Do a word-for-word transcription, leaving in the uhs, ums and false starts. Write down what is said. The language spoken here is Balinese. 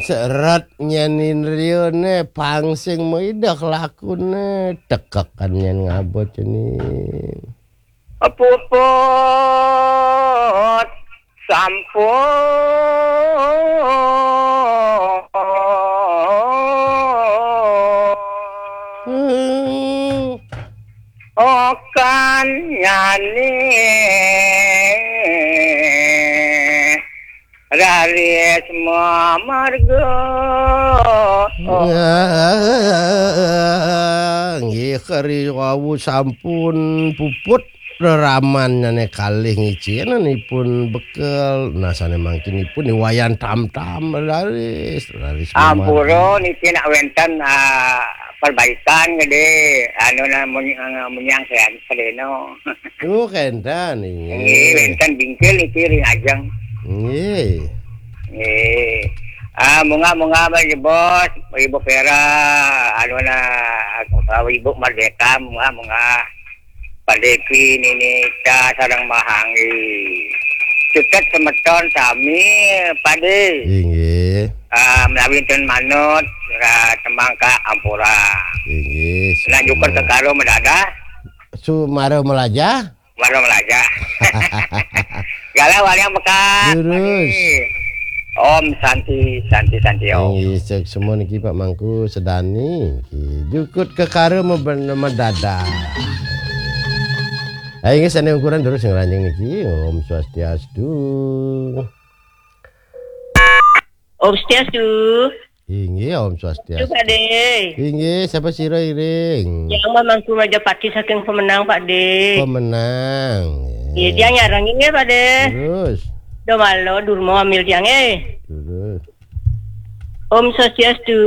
Ceret nyen indrione, pang sing maidah lakune, tekekan nyen ngabot cening. Puput sampun. Hmm. Okan nyane raris mamarga. Ah, nggih, kari wau sampun puput reraman nyane kalih ngiciananipun bekel. Nah, sane mangkinipun niwayan tam-tam raris, raris mamarga. Ampura niki nak wenten, ah, perbaikan gede, anu, nah, muny-, munyang sean sedeno. Oh, kenten, nggih. Nggih, wenten bingkil niki ring ajeng. Nggih. Nggih. Ah, munggah, munggah, Bos, Ibu Vera, anu, nah, Ibu Merdeka, munggah, munggah. Pak Devi, Nini, Ca, sareng Mahanggi. Cutet semeton sami, Pak De. Inggih. Ah, menawi ten manut, ah, tembang ka ampura. Inggih, nah, nyukur sukma. Kekaro medadah. Sumara melajah. Mara melajah. Galah waliang bekas. Lurus. Om Santi, Santi, Santi, Om. Inggih, sek semua niki Pak Mangku sedani. Niki jukut kekara meben-, medadah. Ayo, inggih, sane ukuran terus ngranjing niki. Om Swastiastu. Om Swastiastu. Inggih, Om Swastiastu. Pak De. Inggih, sapa sira iring? Yang Mangku Majapati saking Pemenang, Pak De. Pemenang. Nggih, tiang nyarengin nggih, Pak De. Terus. Domalo, Durmo, ambil tiang, eh. Terus. Om Swastiastu.